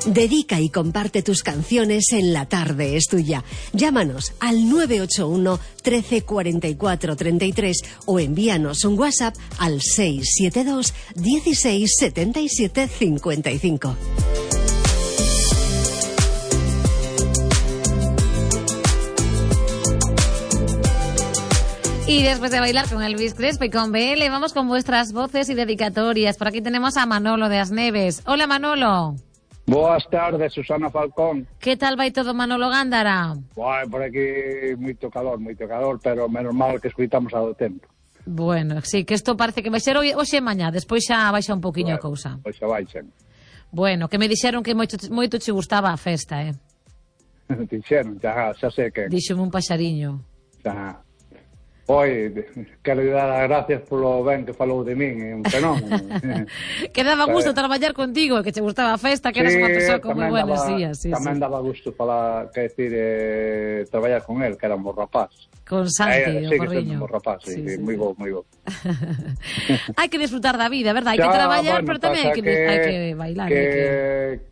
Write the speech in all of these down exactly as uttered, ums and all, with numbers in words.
Dedica y comparte tus canciones en La Tarde es Tuya. Llámanos al nueve ocho uno, trece, cuarenta y cuatro, treinta y tres o envíanos un WhatsApp al seis siete dos, dieciséis, setenta y siete, cincuenta y cinco. Y después de bailar con Elvis Crespo y con B L, vamos con vuestras voces y dedicatorias. Por aquí tenemos a Manolo de Asneves. Hola, Manolo. Boas tardes, Susana Falcón. Que tal vai todo, Manolo Gándara? Vai, por aquí moito calor, moito calor, pero menos mal que escuitamos ao tempo. Bueno, sí, que isto parece que vai ser hoxe e mañá, despois xa baixa un poquinho a Bueno, cousa. Pois xa baixan. Bueno, que me dixeron que moito, moito che gustaba a festa, eh? Dixeron, xa, xa sei que... Díxome un paxariño. Xa... Oi, quero dar as gracias polo ben que falou de min, é un fenómeno. Que daba gusto traballar contigo, que che gustaba a festa, que eras sí, unha persoa con moi buenos daba, días. Sí, tamén sí. daba gusto falar, que decir, eh, traballar con él, que era un bo rapaz. Con Santi, eh, o sí, Corriño. un bo rapaz, sí, Sí, sí, moi sí. bo, moi bo. Hai que disfrutar da vida, verdad? Hai Xa, que traballar, bueno, pero tamén hai que, que, hai que bailar. Que, hai que...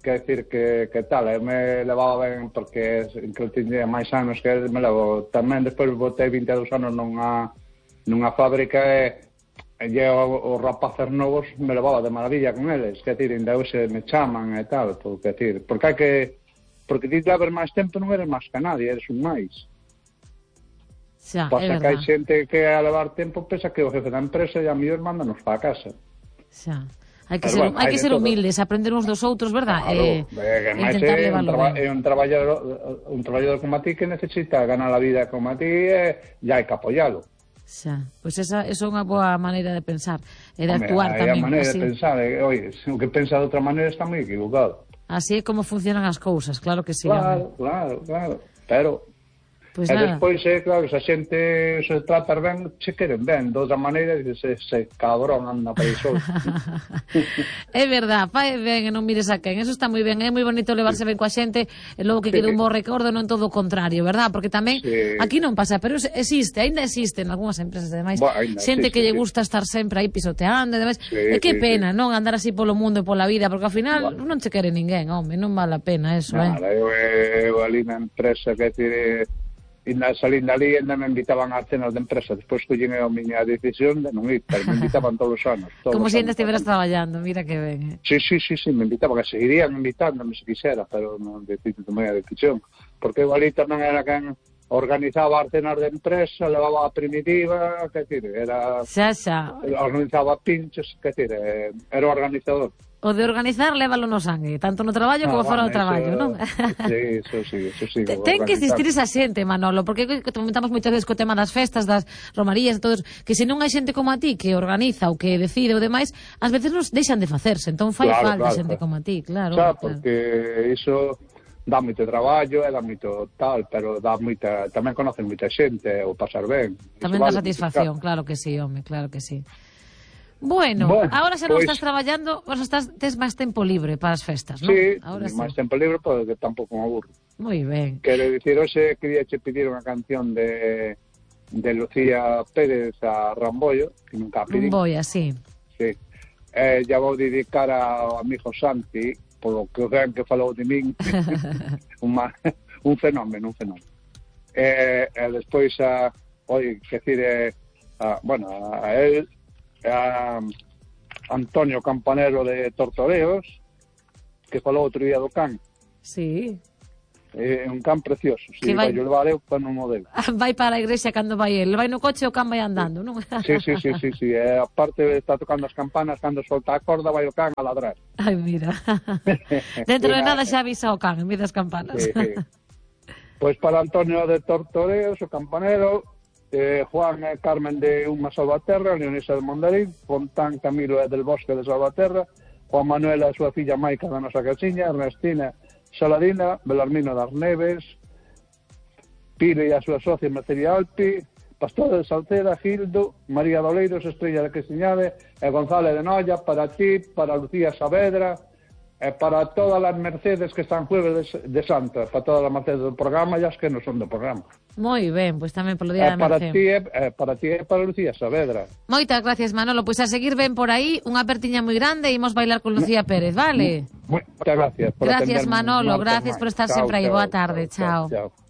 que decir que, que tal, eu me levaba ben porque que eu tiña máis anos que me levo. Tamén despois botei vinte e dous anos nunha, nunha fábrica e e os rapaces novos me levaba de maravilla con eles, que decir, ainda hoxe me chaman e tal, porque decir, porque hai que porque ti leves máis tempo non eres máis que nadie, eres un máis. Xa, Pasa é que hai verdad. xente que a levar tempo pensa que o jefe da empresa e a mellor mándanos para a casa. Xa. Hai que Pero ser, bueno, hai hai que de ser todo. humildes, aprender uns dos outros, verdad? Claro, eh, que máis intentar é un, levarlo traba, ben. é un traballador un traballador como a ti que necesita ganar a vida como a ti e, e hai que apoialo. Xa, pois pues esa, esa é unha boa maneira de pensar e de Home, actuar hai tamén. a maneira Así, de pensar, e, oye, o que pensa de outra maneira está moi equivocado. así é como funcionan as cousas, claro que sí. Claro, claro, claro, pero Pois e nada. despois, é, claro, se a xente se trata ben, se queren ben, de outra maneira, se, se cabrón anda para iso. É verdad, fai ben e non mires a quen. Eso está moi ben, é moi bonito levarse ben coa xente e logo que quede un bo recordo, non todo o contrario, verdad? Porque tamén Sí. aquí non pasa, pero existe, aínda existe en algunhas empresas ademais, Bo, aínda xente existe, que lle sí. gusta estar sempre aí pisoteando e demais. Sí, E que sí, pena, sí. non andar así polo mundo e pola vida, porque ao final Bueno. non che quere ninguén, home, non vale a pena eso, Nada, eh. eu, eu ali na empresa, que decir, e na salindo ali ainda me invitaban a cenas de empresa, despois collín a miña decisión de non ir, pero me invitaban todos os anos. Todos Como os se ainda anos. estiveras traballando, mira que ben, eh. Sí, sí, sí, sí, me invitaban, que seguirían invitándome se quixera, pero non decido tomei a decisión, porque eu ali tamén era quen organizaba as cenas de empresa, levaba a primitiva, que decir, era Xa, xa. organizaba pinchos, que decir, eh, era o organizador. O de organizar, lévalo no sangue, tanto no traballo como Ah, fora bueno, do traballo, eso- non? Sí, eso sí, eso sí. Ten o ten que organizar. existir esa xente, Manolo, porque que comentamos moitas veces co tema das festas, das romarías e todos, que se non hai xente como a ti que organiza ou que decide o demais, ás veces nos deixan de facerse, entón fai Claro, falta claro, xente claro. como a ti, claro. Xa, claro. porque iso dá moito traballo, e dá moito tal, pero dá moita, tamén conocen moita xente, o pasar ben. Iso Tamén dá vale satisfacción, moito, claro que sí, home, claro que sí. Bueno, Bueno, agora xa non pois- estás traballando, vos estás tes máis tempo libre para as festas, non? Sí, Ahora sí. máis tempo libre, porque tampouco me aburro. Moi ben. Quero dicir, hoxe quería che pedir unha canción de de Lucía Pérez a Rambollo, que nunca a pedí. Un boi así. Sí. Eh, ya vou dedicar ao amigo Santi, polo que o ben que falou de min, un, ma- un fenómeno, un fenómeno. Eh, e despois a, oi, que decir, eh, a, bueno, a él, a Antonio Campanero de Tortoreos, que falou outro día do can. Sí. É un can precioso, sí, Que vai- vai o levar eu para un modelo. Vai para a igrexa cando vai el, vai no coche e o can vai andando, non? Sí, sí, sí, sí, sí. E aparte está tocando as campanas, cando solta a corda vai o can a ladrar. Ai, mira. Dentro de nada xa avisa o can, en vez das campanas. Sí, sí. Pois para Antonio de Tortoreos, o campanero, eh, Juan e Carmen de Uma Salvaterra, Leonisa de Mondarín, Fontán Camilo e del Bosque de Salvaterra, Juan Manuel e a súa filla Maica da nosa casiña, Ernestina Saladina, Belarmino das Neves, Pire e a súa socia Mercería Alpi, Pastor de Salceda, Gildo, María Doleiros, Estrella de Questiñade e González de Noia, para ti, para Lucía Saavedra, e para todas as Mercedes que están jueves de, de Santa, para todas as Mercedes do programa e as que non son do programa. Moi ben, pois tamén polo E día da para Mercé. ti, e, e para ti e para Lucía Saavedra. Moitas gracias, Manolo. Pois a seguir ben por aí, unha apertiña moi grande e imos bailar con Lucía Pérez, vale? Muchas gracias por Gracias, atenderme Manolo, un martes gracias máis. por estar Chao, sempre aí. chao, Boa tarde, chao. chao. chao.